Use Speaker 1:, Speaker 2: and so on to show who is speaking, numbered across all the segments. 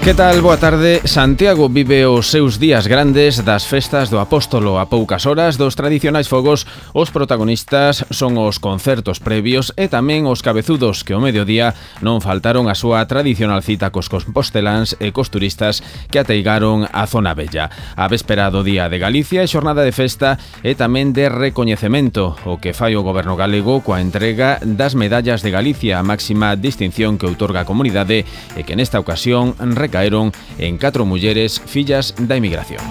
Speaker 1: Que tal? Boa tarde. Santiago vive os seus días grandes das festas do Apóstolo. A poucas horas dos tradicionais fogos, os protagonistas son os concertos previos e tamén os cabezudos que ao mediodía non faltaron a súa tradicional cita cos composteláns e cos turistas que ateigaron a zona bella. A véspera do Día de Galicia é xornada de festa e tamén de recoñecemento, o que fai o goberno galego coa entrega das medallas de Galicia, a máxima distinción que outorga a comunidade e que nesta ocasión caeron en 4 mulleres fillas da emigración.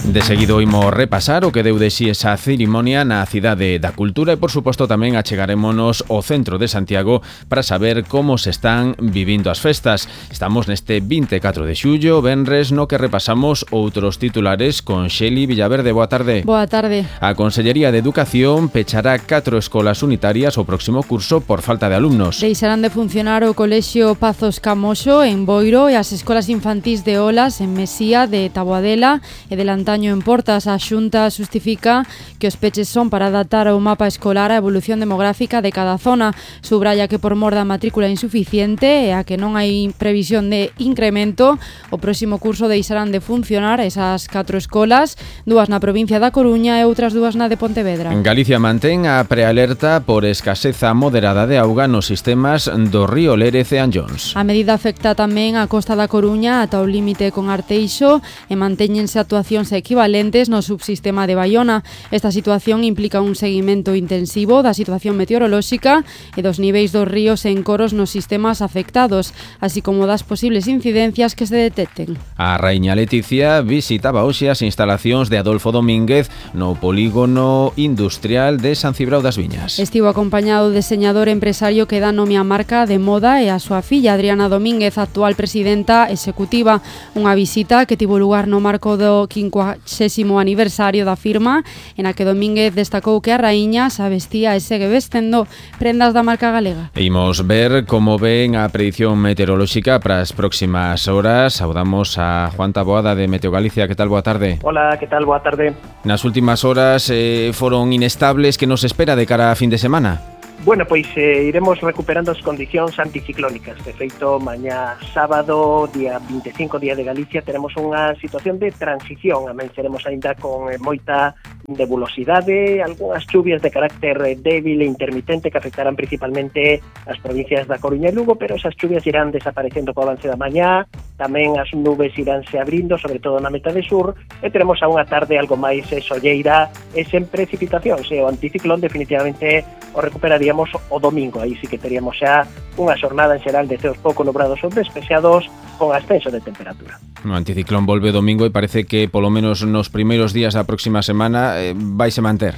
Speaker 1: De seguido imos repasar o que deu de si esa cerimonia na Cidade da Cultura e, por suposto, tamén achegarémonos ao centro de Santiago para saber como se están vivindo as festas. Estamos neste 24 de xullo, venres, no que repasamos outros titulares con Xeli Villaverde. Boa tarde.
Speaker 2: Boa tarde.
Speaker 1: A Consellería de Educación pechará 4 escolas unitarias o próximo curso por falta de alumnos.
Speaker 2: Deixarán de funcionar o Colexio Pazos Camoxo en Boiro e as escolas infantís de Olas en Mesía, de Taboadela e de Lantaño en Portas. A Xunta xustifica que os peches son para adaptar ao mapa escolar a evolución demográfica de cada zona. Subraya que por mor da matrícula insuficiente e a que non hai previsión de incremento, o próximo curso deixarán de funcionar esas 4 escolas, 2 na provincia da Coruña e outras 2 na de Pontevedra.
Speaker 1: En Galicia mantén a prealerta por escaseza moderada de auga nos sistemas do río Lérez e Anllóns.
Speaker 2: A medida afecta tamén a costa da Coruña ata o límite con Arteixo e mantéñense actuacións equivalentes no subsistema de Baiona. Esta situación implica un seguimento intensivo da situación meteorolóxica e dos niveis dos ríos e encoros nos sistemas afectados, así como das posibles incidencias que se detecten.
Speaker 1: A raíña Leticia visitaba hoxe as instalacións de Adolfo Domínguez no polígono industrial de San Cibrao das Viñas.
Speaker 2: Estivo acompañado do diseñador empresario que dá nome á marca de moda e a súa filla Adriana Domínguez, actual presidenta executiva. Unha visita que tivo lugar no marco do 50º aniversario da firma, en a que Domínguez destacou que a raíña se vestía e segue vestendo prendas da marca galega.
Speaker 1: E imos ver como ven a predición meteorolóxica para as próximas horas. Saudamos a Juan Taboada de Meteo Galicia. Que tal? Boa tarde.
Speaker 3: Hola, que tal? Boa tarde.
Speaker 1: Nas últimas horas foron inestables. Que nos espera de cara a fin de semana?
Speaker 3: Bueno, pois iremos recuperando as condicións anticiclónicas. De feito, mañá sábado, día 25, Día de Galicia, teremos unha situación de transición. Amenceremos aínda con moita nebulosidade, algunhas chuvias de carácter débil e intermitente que afectarán principalmente as provincias da Coruña e Lugo, pero esas chuvias irán desaparecendo co avance da mañá. Tamén as nubes iránse abrindo, sobre todo na metade sur, e teremos a unha tarde algo máis solleira e sen precipitacións. O anticiclón definitivamente o recuperaríamos o domingo. Aí sí que teríamos xa unha xornada en xeral de ceos pouco nubrados ou despexados con ascenso de temperatura.
Speaker 1: O anticiclón volve domingo e parece que polo menos nos primeiros días da próxima semana vaise manter.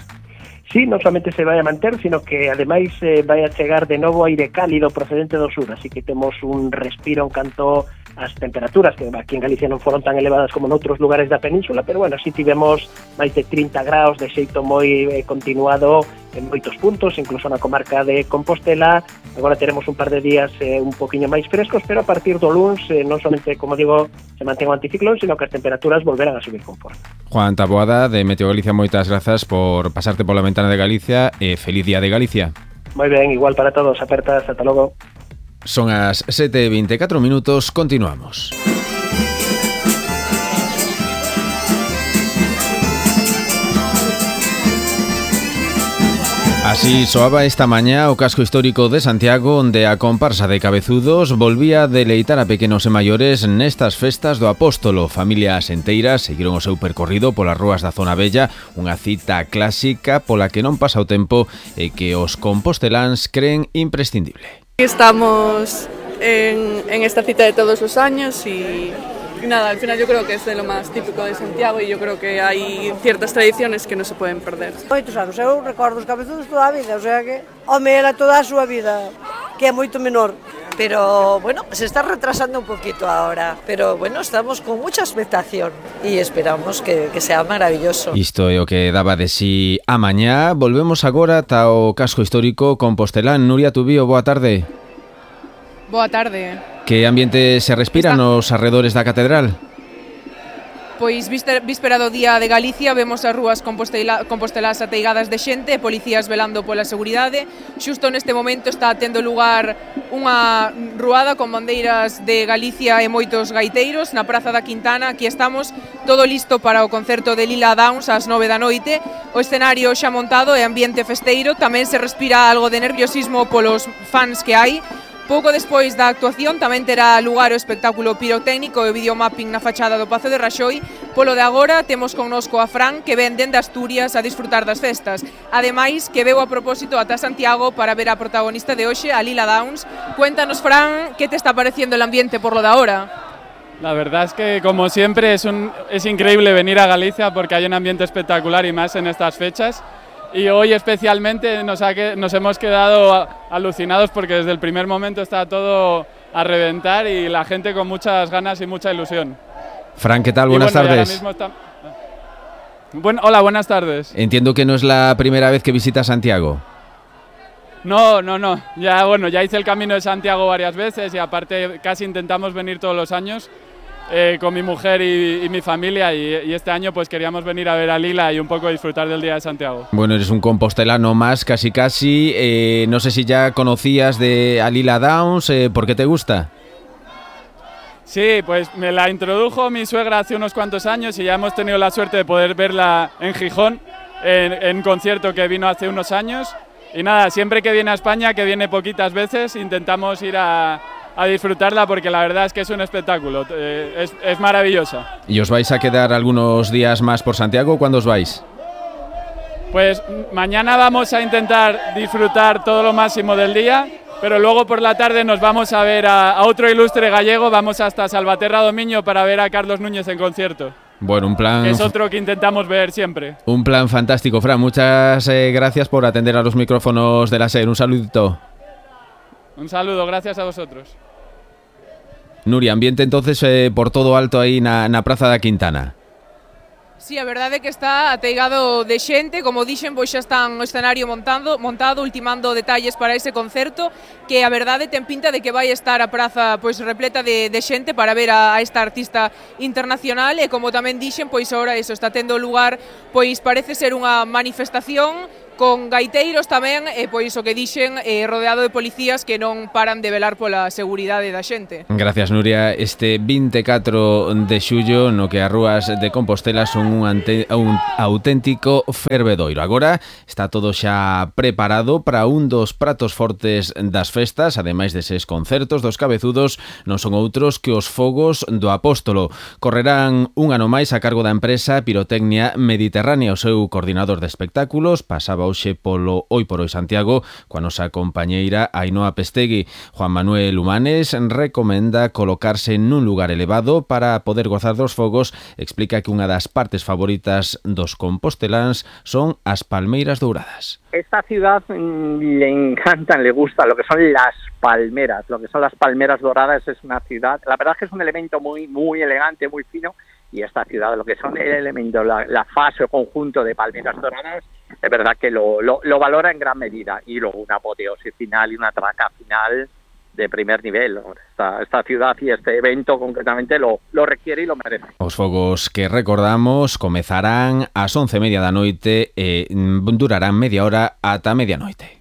Speaker 3: Sí, non solamente se vai a manter, sino que ademais vai a chegar de novo aire cálido procedente do sur, así que temos un respiro en canto as temperaturas, que aquí en Galicia non foron tan elevadas como noutros lugares da península, pero bueno, sí tivemos máis de 30 graus de xeito moi continuado en moitos puntos, incluso na comarca de Compostela. Agora teremos un par de días un poquinho máis frescos, pero a partir do luns non somente, como digo, se mantén o anticiclón, sino que as temperaturas volverán a subir con forza.
Speaker 1: Juan Taboada de Meteo Galicia, moitas grazas por pasarte pola ventana de Galicia e feliz Día de Galicia.
Speaker 3: Moi ben, igual para todos, apertas, ata logo.
Speaker 1: Son as 7:24 minutos, continuamos. Así soaba esta mañá o casco histórico de Santiago, onde a comparsa de cabezudos volvía a deleitar a pequenos e maiores nestas festas do Apóstolo. Familias enteiras seguiron o seu percorrido polas rúas da zona bella, unha cita clásica pola que non pasa o tempo e que os composteláns creen imprescindible.
Speaker 4: Estamos en esta cita de todos los años y nada, al final yo creo que es de lo más típico de Santiago y yo creo que hay ciertas tradiciones que no se pueden perder.
Speaker 5: Moitos anos, eu recordo os cabezudos toda a vida, o sea que home era toda a súa vida, que é moito menor. Pero bueno, se está retrasando un poquito ahora, pero bueno, estamos con mucha expectación y esperamos que sea maravilloso.
Speaker 1: Isto é o que daba de si a mañá. Volvemos agora ata o casco histórico compostelán. Nuria Tubío, boa tarde.
Speaker 6: Boa tarde.
Speaker 1: Que ambiente se respira nos arredores da catedral?
Speaker 6: pois víspera do Día de Galicia vemos as rúas compostelas ateigadas de xente e policías velando pola seguridade. Xusto neste momento está tendo lugar unha ruada con bandeiras de Galicia e moitos gaiteiros na Praza da Quintana. Aquí estamos, todo listo para o concerto de Lila Downs ás 9 da noite. O escenario xa montado e ambiente festeiro, tamén se respira algo de nerviosismo polos fans que hai. Pouco despois da actuación tamén terá lugar o espectáculo pirotécnico e o videomapping na fachada do Pazo de Raxoi. Polo de agora temos connosco a Fran, que ven dende Asturias a disfrutar das festas. Ademais, que veu a propósito ata Santiago para ver a protagonista de hoxe, a Lila Downs. Cuéntanos, Fran, que te está pareciendo el ambiente por lo de ahora?
Speaker 7: La verdad es que, como siempre, es increíble venir a Galicia porque hay un ambiente espectacular y más en estas fechas. Y hoy especialmente nos hemos quedado alucinados porque desde el primer momento está todo a reventar y la gente con muchas ganas y mucha ilusión.
Speaker 1: Fran, ¿qué tal? Buenas tardes.
Speaker 7: Hola, buenas tardes.
Speaker 1: Entiendo que no es la primera vez que visitas Santiago.
Speaker 7: No. Ya hice el Camino de Santiago varias veces y aparte casi intentamos venir todos los años. Con mi mujer y mi familia y este año pues queríamos venir a ver a Lila y un poco disfrutar del Día de Santiago. Bueno,
Speaker 1: eres un compostelano más, casi. No sé si ya conocías a Lila Downs, ¿por qué te gusta?
Speaker 7: Sí, pues me la introdujo mi suegra hace unos cuantos años y ya hemos tenido la suerte de poder verla en Gijón, en un concierto que vino hace unos años. Y nada, siempre que viene a España, que viene poquitas veces, intentamos ir a disfrutarla porque la verdad es que es un espectáculo, es maravillosa.
Speaker 1: ¿Y os vais a quedar algunos días más por Santiago? ¿Cuándo os vais?
Speaker 7: Pues mañana vamos a intentar disfrutar todo lo máximo del día, pero luego por la tarde nos vamos a ver a otro ilustre gallego, vamos hasta Salvaterra do Miño para ver a Carlos Núñez en concierto.
Speaker 1: Bueno, un plan...
Speaker 7: Es otro que intentamos ver siempre.
Speaker 1: Un plan fantástico, Fran. Muchas gracias por atender a los micrófonos de la SER. Un saludito.
Speaker 7: Un saludo, gracias a vosotros.
Speaker 1: Nuria, ambiente entonces por todo alto aí na Praza da Quintana.
Speaker 6: Sí, a verdade é que está ateigado de xente, como dixen, pois xa están o escenario montado, ultimando detalles para ese concerto, que a verdade ten pinta de que vai estar a praza pois repleta de xente para ver a esta artista internacional e como tamén dixen, pois agora eso está tendo lugar, pois parece ser unha manifestación con gaiteiros tamén e pois o que dixen rodeado de policías que non paran de velar pola seguridade da xente.
Speaker 1: Gracias, Nuria. Este 24 de xullo no que as rúas de Compostela son un auténtico fervedoiro. Agora está todo xa preparado para un dos pratos fortes das festas, ademais deses concertos dos cabezudos, non son outros que os fogos do Apóstolo. Correrán un ano máis a cargo da empresa Pirotecnia Mediterránea. O seu coordinador de espectáculos pasaba hoxe polo Hoy por Hoy Santiago coa nosa compañeira Ainhoa Pestegui. Juan Manuel Humanes recomenda colocarse nun lugar elevado para poder gozar dos fogos. Explica que unha das partes favoritas dos composteláns son as palmeiras douradas.
Speaker 8: Esta ciudad le encantan, le gusta lo que son las palmeras, lo que son las palmeras doradas. Es una ciudad, la verdad es que es un elemento muy elegante, muy fino. Y esta ciudad, lo que son el elemento, la fase o conjunto de palmeras doradas, es verdad que lo valora en gran medida. Y luego una apoteosis final y una traca final de primer nivel. Esta ciudad y este evento concretamente lo requiere y lo merece.
Speaker 1: Os fogos que recordamos comezarán ás 11:30 da noite e durarán media hora ata medianoite.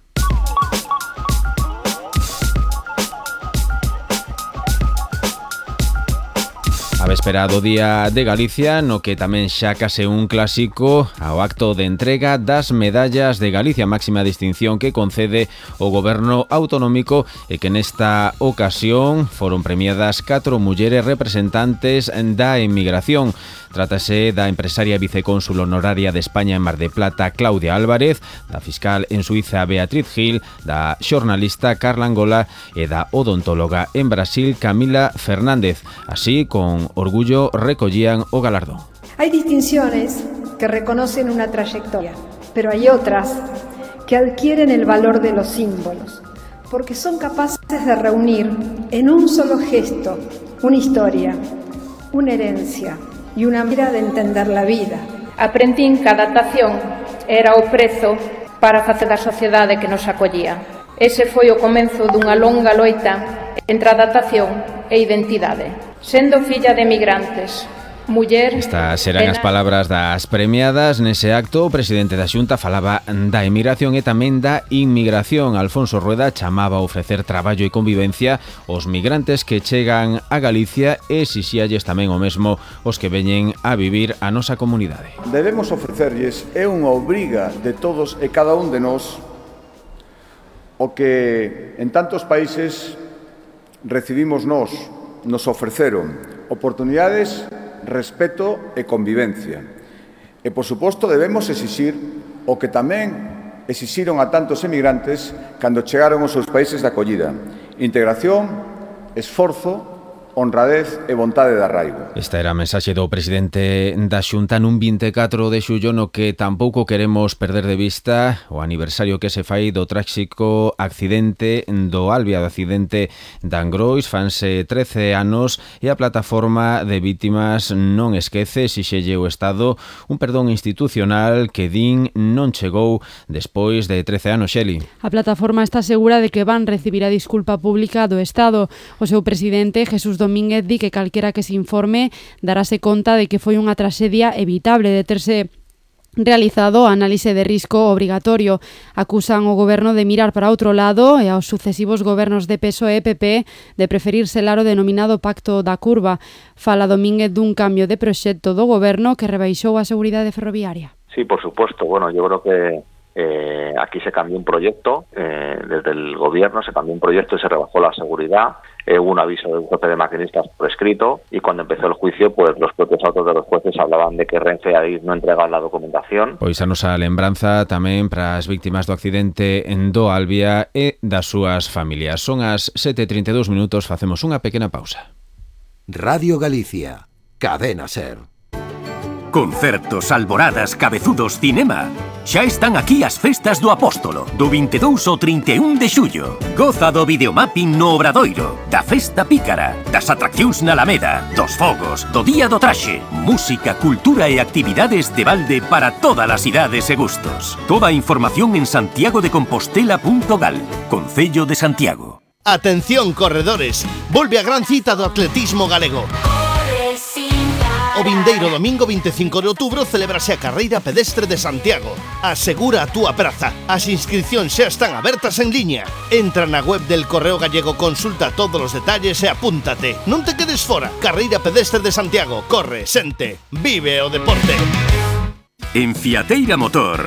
Speaker 1: A véspera do Día de Galicia, no que tamén xa case un clásico ao acto de entrega das medallas de Galicia, máxima distinción que concede o Goberno autonómico e que nesta ocasión foron premiadas 4 mulleres representantes da emigración. Trátase da empresaria vicecónsul honoraria de España en Mar de Plata, Claudia Álvarez, da fiscal en Suiza, Beatriz Gil, da xornalista Carla Angola e da odontóloga en Brasil, Camila Fernández. Así, con orgullo recollían o galardón.
Speaker 9: Hay distinciones que reconocen una trayectoria, pero hay otras que adquieren el valor de los símbolos, porque son capaces de reunir en un solo gesto una historia, una herencia e unha manera de entender la vida.
Speaker 10: Aprendín que a adaptación era o prezo para facer da sociedade que nos acollía. Ese foi o comenzo dunha longa loita entre adaptación e identidade. Sendo filla de emigrantes, muller...
Speaker 1: Estas serán as palabras das premiadas. Nese acto, o presidente da Xunta falaba da emigración e tamén da inmigración. Alfonso Rueda chamaba a ofrecer traballo e convivencia aos migrantes que chegan a Galicia e exixíalles tamén o mesmo os que veñen a vivir a nosa comunidade.
Speaker 11: Debemos ofrecerlles, é unha obriga de todos e cada un de nós, o que en tantos países recibimos nos ofreceron oportunidades, respeto e convivencia. E, por suposto, debemos exixir o que tamén exixiron a tantos emigrantes cando chegaron aos seus países de acollida: integración, esforzo, honradez e vontade de arraigo.
Speaker 1: Esta era a mensaxe do presidente da Xunta nun 24 de xullo, no que tampouco queremos perder de vista o aniversario que se fai do tráxico accidente do Albia, do accidente de Angrois. Fanse 13 anos e a plataforma de vítimas non esquece, exixelle o Estado un perdón institucional que din non chegou despois de 13 anos, Xeli.
Speaker 2: A plataforma está segura de que van recibir a disculpa pública do Estado. O seu presidente, Jesús Domínguez, di que calquera que se informe darase conta de que foi unha traxedia evitable de terse realizado a análise de risco obrigatorio. Acusan o goberno de mirar para outro lado e aos sucesivos gobernos de PSOE e PP de preferir selar o denominado Pacto da Curva. Fala Domínguez dun cambio de proxecto do goberno que rebaixou a seguridade ferroviaria.
Speaker 12: Sí, por supuesto. Bueno, yo creo que aquí se cambió un proyecto, desde el gobierno se cambió un proyecto y se rebajó la seguridad. Hubo un aviso de un jefe de maquinistas por escrito y cuando empezó el juicio, pues los propios autos de los jueces hablaban de que Renfe ahí no entregaba la documentación.
Speaker 1: Pois a nosa lembranza tamén para as víctimas do accidente do Albia e das súas familias. Son as 7:32 minutos, facemos unha pequena pausa.
Speaker 13: Radio Galicia, Cadena Ser.
Speaker 14: Concertos, alboradas, cabezudos, cinema. Xa están aquí as festas do Apóstolo, do 22 ao 31 de xullo. Goza do videomapping no Obradoiro, da festa pícara, das atraccións na Alameda, dos fogos, do Día do Traxe, música, cultura e actividades de balde para todas as idades e gustos. Toda a información en santiagodecompostela.gal, Concello de Santiago.
Speaker 15: Atención, corredores, volve a gran cita do atletismo galego. O vindeiro domingo 25 de outubro celebrase a Carreira Pedestre de Santiago. Asegura a túa praza. As inscripcións xa están abertas en liña. Entra na web del Correo Gallego, consulta todos os detalles e apúntate. Non te quedes fora. Carreira Pedestre de Santiago. Corre, sente, vive o deporte.
Speaker 14: En Fiateira Motor,